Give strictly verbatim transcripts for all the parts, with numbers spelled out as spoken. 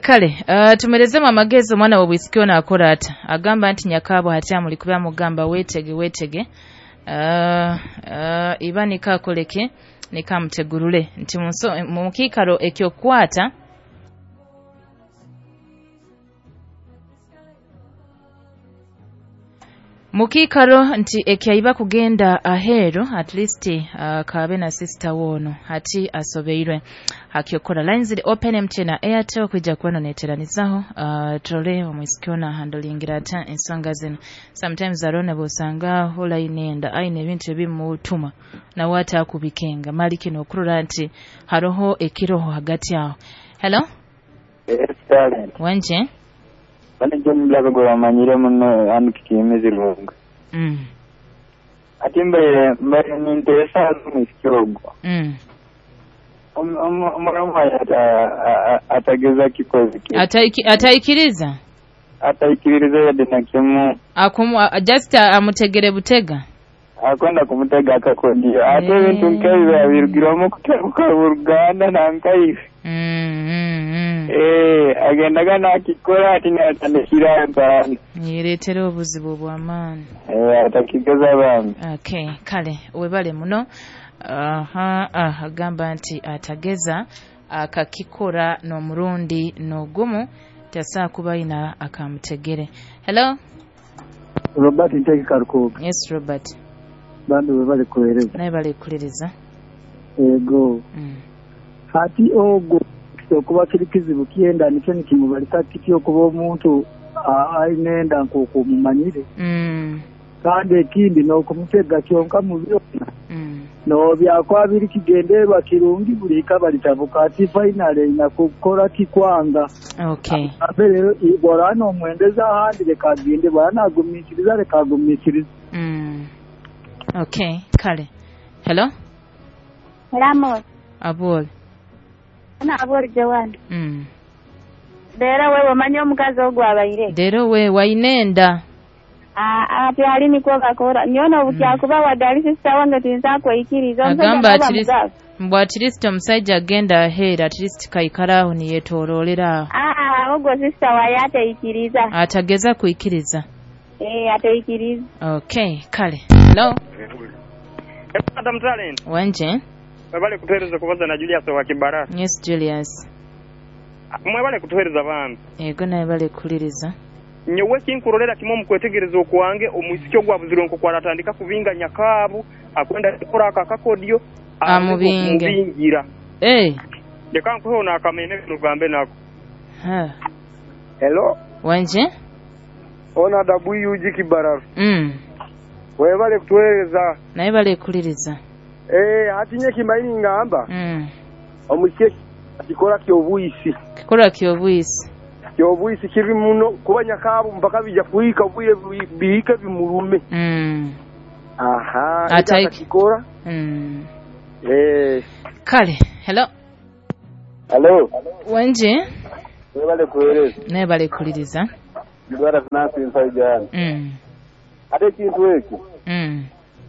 Kale uh, tumerezemu amagezi omwana w'obwisiki ono akora ata agamba nti nyakabo hati amuli kuba mugamba weetege weetege uh, uh, iba nikakoleke nikamutegurule nti mu kiikaro ekyokukwata mukikaro nti ekyaiba kugenda ahero at least uh, kabe na sister wono hati asobeirwe hakyokora lines ziri open M T N na Airtel kwijja kuba neteranizaho uh, tole omwisikiona handlingira ata ensonga zino. Sometimes arona bosanga hola inenda aine ebintu ebimutuma na wata kubikenga mali kino okurora nti haroho ekiroho hagati aho. Hello. Yes, darling. Wanje bane mulabe gwe bamanyire muno anu kikiyimizi runga. Mm. Ati mbaire mbaire ninteesa omwisiki ogwo. Mm. Omuramu atageza kikozi ki. Ataikiriza? Ataikiriza yadde na kimu. Akumu just amutegere butega? Akwenda kumutega akakondio. Ate ebintu nk'ebyo birugirwamu kutebuka Uganda nankaife. Mm, mm, mm. Eh, agendaga nakikora ati natandikira mpano. Niretera obuzibu bw'amaani. Eh, atakigeza bambi. Okay, kale webale muno. Aha, uh, agamba nti atageza akakikora n'omurundi n'ogumu tasaa kuba ina akamutegere. Hello? Robert Ntege Karukoga. Yes, Robert. Bambi webale kuhereza. Naye bale kuliriza. Ego. Mm. Hati ogo okuba kiri kizibu kyenda nikyo nikimubalika kityo okuba omuntu aine enda nk'oku omumanyire. Mm. Kandi ekindi n'okumutega kyonka mu byona. Mm. N'obyakwa biri kigendererwa kirungi buli ikaba litabuka ati finally ina kukora kikwanga. Okay. Abe rero bw'oraba n'omwendeza ahandi reka agende, bw'oraba nagumiikiriza reka agumiikirize. Mm. Okay, kale. Hello? Hello. Abol. Na abol Joan. Mm. Dera wewe omanyi omukazi ogwo abaire. Dero we wainenda. Ah ah pyali niko bakora. Nyono obukyakuba wadali sister wange tinza kwikiriza. Agamba at least mbwa at least omusajja agenda aheera at least kaikaraho niyetorolera. Ah ah ogwo sister waye ateikiriza. Atageza kuikiriza. Eh ateikiriza. Okay, kale. Hello. Madam Talent. Wanje. Mwebale kutuhereza kubaza na Julius wa Kibara. Yes, Julius. Mwebale kutuhereza bambi. Yego naye bale kuliriza. Nyowe kinkurolera kimwe mukwetegereza okwange omwisiki ogwabuzirwe nko kwaratandika kubinga nyakabu akwenda kukora akakakodio amubinge. Amubingira. Eh. Leka nkuhe ono akamene nugambe nako. Ha. Hello. Wanje? Ona W G Kibara. Mm. Webale kutuhereza. Naye bale kuliriza. Eh, ati nye kimaini ngamba. Mm. Omusiki kikora kyobuyisi. Kikora kyobuyisi. Kyobuyisi kibi muno kuba nyakabu mpaka bija kuhika bwire bihike bimulume. Mm. Aha, Ataiki kikora. Mm. Eh. Kale, hello. Hello. Wanje? Webale kuhereza. Naye bale kuliriza. Ndwara finance inside. Mm. Ate kintu eki. Mm.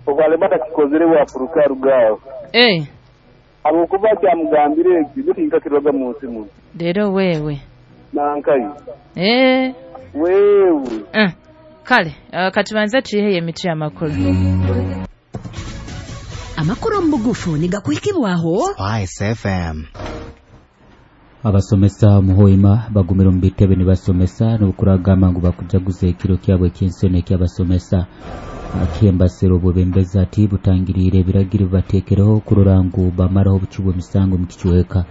Ogwalebata kikozere wafuruka rugao. Eh. Abukuba kyamugambire eki bitinka kiroga mu nsi. Rero wewe. Nankayi. Eh. Wewe. Eh. Kale, uh, katubanze tuyihe emitwe y'amakuru. Amakuru mu bugufu nigakuhikibwaho Spice F M. Abasomesa muhoima bagumira mu bitebe nibasomesa n'okuragamba ngu bakujaguza ekiro kyabwe eky'ensoni eky'abasomesa. Akihembasero obwebembezi ati butangiriire ebiragiro bibateekereho kurora ngu bamaraho obucu bw'emisango mu kicweka.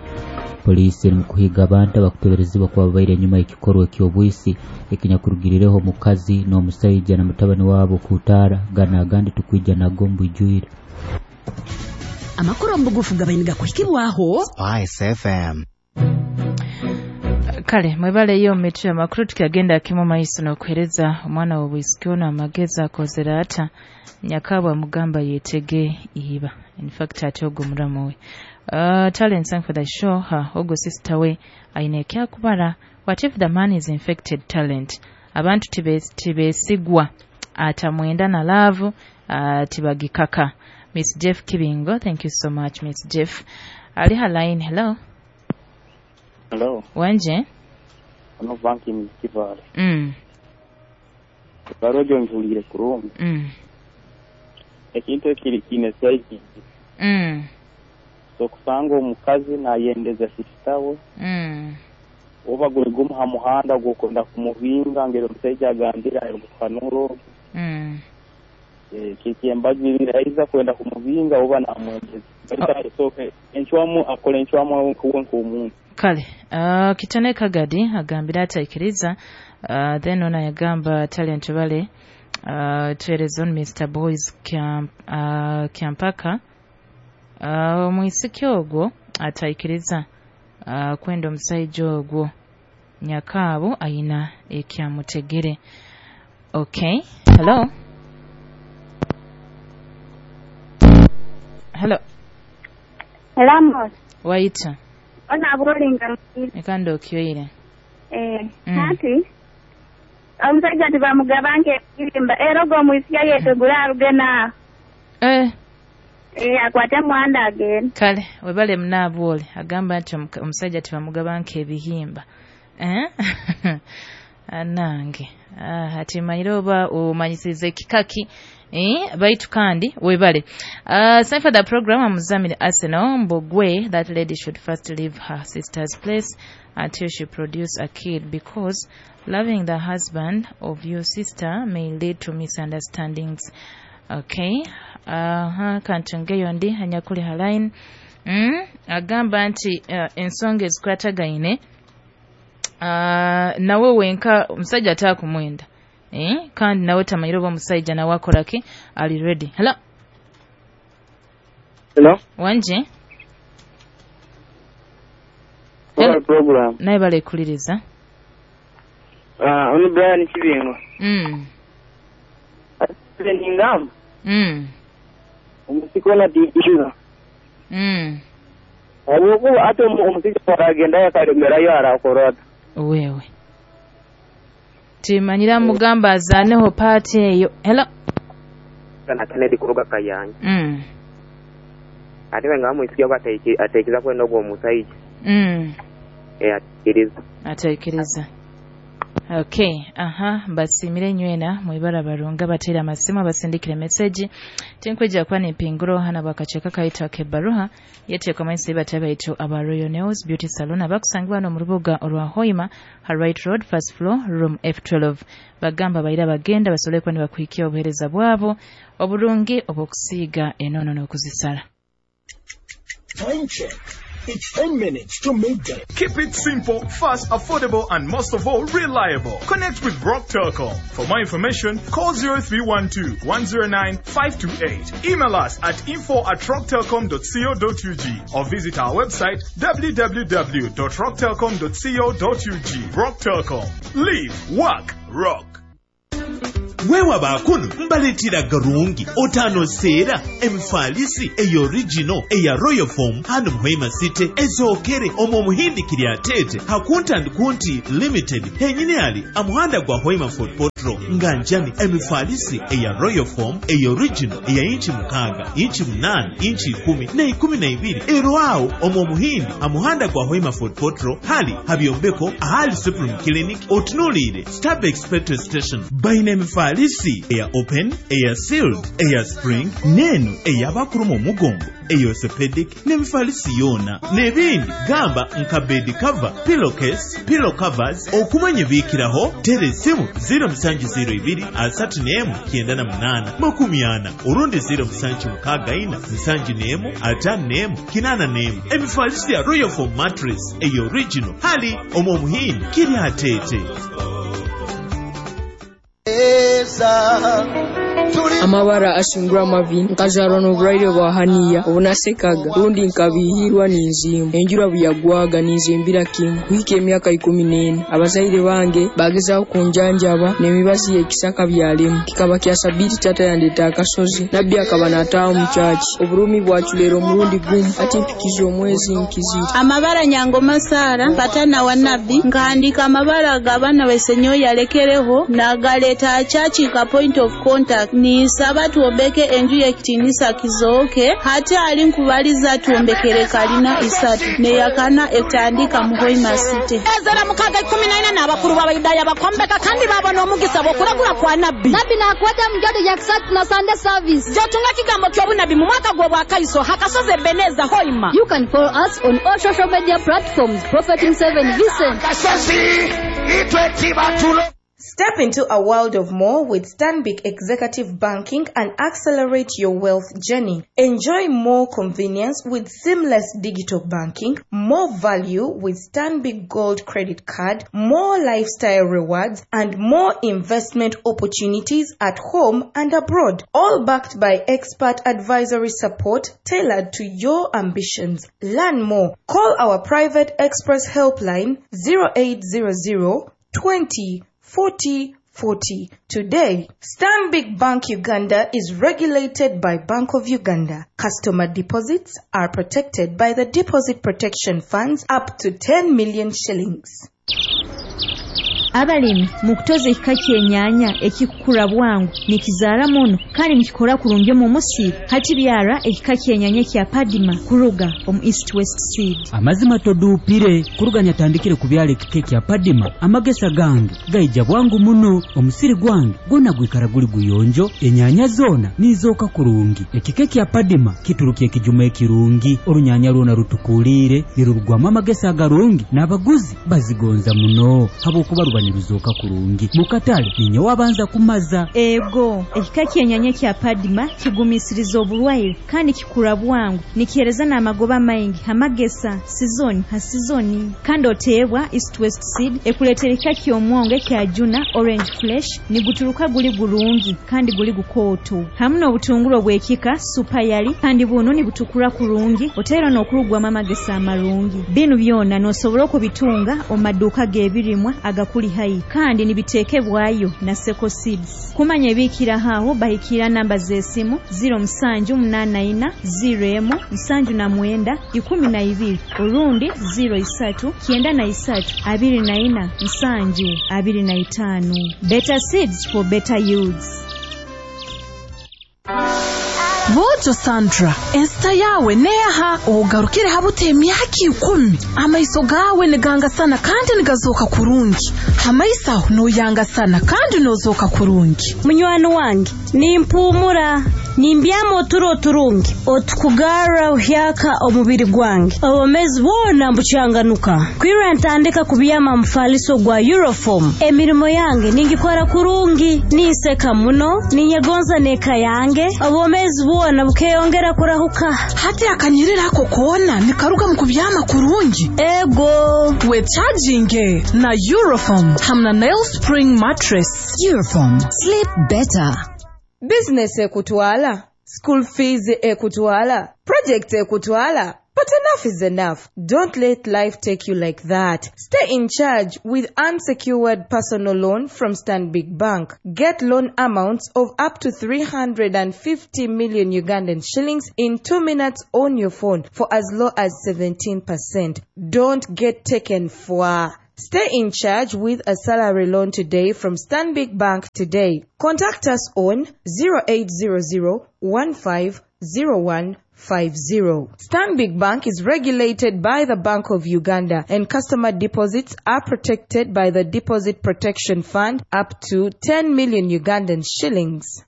Poliisi eri mu kuhiga abantu abakuteberezibwa kuba babaire enyuma y'ekikorwa eky'obwisi ekinyakurugirireho omukazi n'omusaija na mutabani waabo kutaara gana agandi tukwija nago mu bwijwire. Amakuru mu bugufu gabaire nigakuhikibwaho Spice F M. Kale mwebaleyo mitwe amakuru tukyagenda kimu maiso n'okuhereza omwana w'obwisiki ono amagezi akozera ata nyakabwa mugamba yetege iba. In fact ate ogwo muramu we. Uh, talent sang for the show ha ogwo sister we aine ekyakubara. What if the man is infected talent? Abantu tibesigwa atamwenda na love uh, tibagikaka. Miss Jeff Kibingo, thank you so much Miss Jeff. Ali line, hello. Hello. Wanje? Ono banki mizikivale. Mm. Barojo ngiwulire kurungi. Mm. Ekintu ekiri kiine saidi. Mm. So kusanga omukazi nayendeza sister we. Mm. Oba guli gumu ha muhanda gw'okwenda kumubinga ngeri omusaija agambire ayogukanuro. Mm. Kikyembagirira aiza kwenda kumubinga oba namwendeza. Baitu oh. Enchwamu akola enchwamu nk'omuntu. Kale uh, kitone kagadi agambira ataikiriza uh, then ona yagamba talent bale uh, tuereza on Mister Boys Camp, uh, Kyampaka uh, omwisiki ogwo ataikiriza uh, kwenda omusaija ogwo nyakaabo ayina ekyamutegere. Okay, hello. Hello. Hello. Waita. Ona bolinga. Ekando okyoire. Eh, mm. Hati. Omusajja tibamugabanke ebirimba era ogwo omwisiki ayetegula aruge na. Eh. Eh, akwate muhanda agende. Kale, webale munaabwole agamba nti omusajja tibamugabanke ebihimba. Eh? Anange. Ah, ati manyire oba omanyisize kikaki. Eh, baitu kandi webale. Uh, sign for the program amuzamire Arsenal Mbogwe that lady should first leave her sister's place until she produce a kid because loving the husband of your sister may lead to misunderstandings. Okay. Uh, kantungeyo ndi anyakuli haline. Mm, agamba nti uh, ensonga ezikwatagaine uh, nawe wenka omusajja ataakumwenda. Eh, kandi nawe tamanyire oba omusajja nawe akola ki ali ready. Hello. Hello. Wanje. Hello. Program. Naye bale kuliriza. Ah, uh, ono Brian Kibingo. Mm. Ningam. Mm. Omusikona diiza. Mm. Abuku ate omusajja aragenda yakalemerayo arakorota. Wewe. Timanyira mugamba azaneho party eyo. Hello. Kana Kennedy kuruga Kayanja. Mm. Ate nga mwisiki ateiki atekiza kwenda ogwo omusajja. Mm. Eh, atekiriza. Atekiriza. Okay, aha, basimire nywena mwibara barunga batera amasimu abasindikire message. Tinkweja kwa nipinguro hana bakacheka kaitwa kebaruha yete kwa maisi bataba ito aba Royal Nails Beauty Salon abakusangibwa no mu rubuga olwa Hoima Right Road first floor room F twelve. Bagamba bayira bagenda basobole kuba nibakuhikia obuhereza bwabo oburungi obukusiiga enono n'okuzisala. Time check. It's ten minutes to midday. Keep it simple, fast, affordable, and most of all, reliable. Connect with Rock Telcom. For more information, call zero three one two, one zero nine, five two eight. Email us at info at rocktelcom dot co dot U G or visit our website w w w dot rock telcom dot co dot U G. Rock Telcom. Live, work, rock. Wewa bakuno mbaletera garungi otano seera emifalisi eyo original eya Royal Foam hano Muhima City ezokere omwo muhindi kiri atete hakunta kunti limited henyine ali amuhanda gwa Hoima Fort Potro nganjani emifalisi eya Royal Foam eyo original eya inchi mukaga inchi munane inchi ikumi na ikumi na ibiri erwao omwo muhindi amuhanda gwa Hoima Fort Potro hali habyombeko ahali Supreme Clinic otunulire Starbucks petrol station baine emifalisi eya open, eya sealed, eya spring, neno ey'abakuru mu mugongo, eya orthopedic n'emifalisi yona n'ebindi gamba nka bed cover, pillowcase, pillow covers okumanya biikiraho tera esimu zero musanju zero ibiri asatu n'emu kyenda na munaana makumi ana orundi zero musanju mukaaga ina musanju n'emu ataano n'emu kinaana n'emu. Emifalisi ya Royal Foam mattress eya original hali omwo omuhindi kiri ateete. Amabara ashingura amavi nkajarwa n'oburwaire bwa haniya obunasekaga rundi nkabihirwa n'enzimbu enjura buyagwaga ninzimbira kimu kuhika emyaka ikumi n'ena abazaire bange bagezaho kunjanjaba n'emibazi y'ekisaka byalemu kikaba kya sabiti tata yandeta akasozi nabbi akaba nataaha omu kyaki oburumi bwaculera omurundi gumu ati mpikiza omwezi nkizire. Amabara Nyangoma Sara patana wa nabbi nkahandika amabara g'abaana besenyoyi yalekereho nagaleta church ka point of contact ni Ninkusaba tuombeke enju y'ekitinisa kizooke, hati ali nkubaliza tuombekere kalina isatu neyakana etandika mu Hoima City. Ezera mukaga ikumi na ina n'abakuru b'Abayudaaya bakombeka kandi babona omugisa bw'okuragura kwa nabbi. Nabbi nakwata mjodo ya kisatu na Sunday service. Jotunga kigambo ky'obunabi mu mwaka gw'obwakaiso hakasozi Ebeneza Hoima. You can follow us on all social media platforms. Prophet Seven Vincent. Step into a world of more with Stanbic Executive Banking and accelerate your wealth journey. Enjoy more convenience with seamless digital banking, more value with Stanbic Gold Credit Card, more lifestyle rewards, and more investment opportunities at home and abroad. All backed by expert advisory support tailored to your ambitions. Learn more. Call our private express helpline zero eight zero zero twenty forty forty. Today, Stanbic Bank Uganda is regulated by Bank of Uganda. Customer deposits are protected by the Deposit Protection Funds up to ten million shillings. Abalimi mukutoza ekika ky'enyaanya ekikukura bwangu nikizaara muno kandi nikikora kurungi omu musiri hati byara ekika ky'enyaanya kya Padima kuruga omu East West Seed. Amazima toduupire kuruga nyatandikire kubyala ekika kya Padima, amagesa gange gaija bwangu muno, omusiri gwange gwona gwikara guli guyonjo, enyaanya zoona nizooka kurungi. Ekika kya Padima kituruka ekijuma ekirungi, orunyanya lwona rutukuliire nirurugwamu amagesa agarungi n'abaguzi bazigonza muno habwokuba ruba niruzooka kurungi mukatale ninye wabanza kumaza. Ego ekika ky'enyaanya kya Padima kigumisiriza oburwaire kandi kikura bwangu nikihereza n'amagoba maingi amagesa sizoni ha sizoni. Kandi oteebwa East West Seed ekuleetera ekika ky'omwongo ekya Juna Orange Flesh niguturuka guli gurungi kandi guli gukooto hamu n'obutunguru obw'ekika Supayali kandi buno nibutukura kurungi oteera n'okurugwamu amagesa amarungi. Binu byona n'osobola okubitunga omu maduuka g'ebirimwa agakuli hai kandi nibitekebwayo na Seko Seeds. Kumanya ebikira haho bahikira namba z'esimu ziro musanju munana ina ziro emu musanju na mwenda ikumi na ibiri orundi ziro isatu kyenda na isatu abiri na ina musanju abiri na itano. Better seeds for better yields. Bojo Sandra, ensita yawe neha ogarukire habute emyaka ikumi. Amaiso gawe nigangasana kandi nigazoka kurungi. Hamaiso noyangasana kandi nozoka kurungi. Munywani wange, nimpumura nimbyama oturo turungi otukugara uhyaka omubiri gwange obomezi bwona mbucyanganuka kwira ntandika kubyama mufaliso gwa Euroform. Emirimo yange ningikora kurungi niseka muno ninyegonza neka yange obomezi bwona bukeyongera kurahuka. Hati akanyirira ako kona nikaruga mu kubyama kurungi. Ego we charging na Euroform hamna nail spring mattress. Euroform, sleep better. Business ekutwala, school fees ekutwala, project ekutwala. But enough is enough. Don't let life take you like that. Stay in charge with unsecured personal loan from Stanbic Bank. Get loan amounts of up to three hundred fifty million Ugandan shillings in two minutes on your phone for as low as seventeen percent. Don't get taken for. Stay in charge with a salary loan today from Stanbic Bank today. Contact us on zero eight zero zero one five zero one five zero. Stanbic Bank is regulated by the Bank of Uganda and customer deposits are protected by the Deposit Protection Fund up to ten million Ugandan shillings.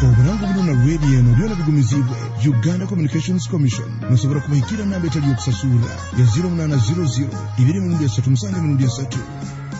Obulango buno na radio eno byona bigumizibwe Uganda Communications Commission. Musobola kubahikira namba etali yokusasula ya zero munana zero zero ibiri mirundi esatu musanju mirundi esatu.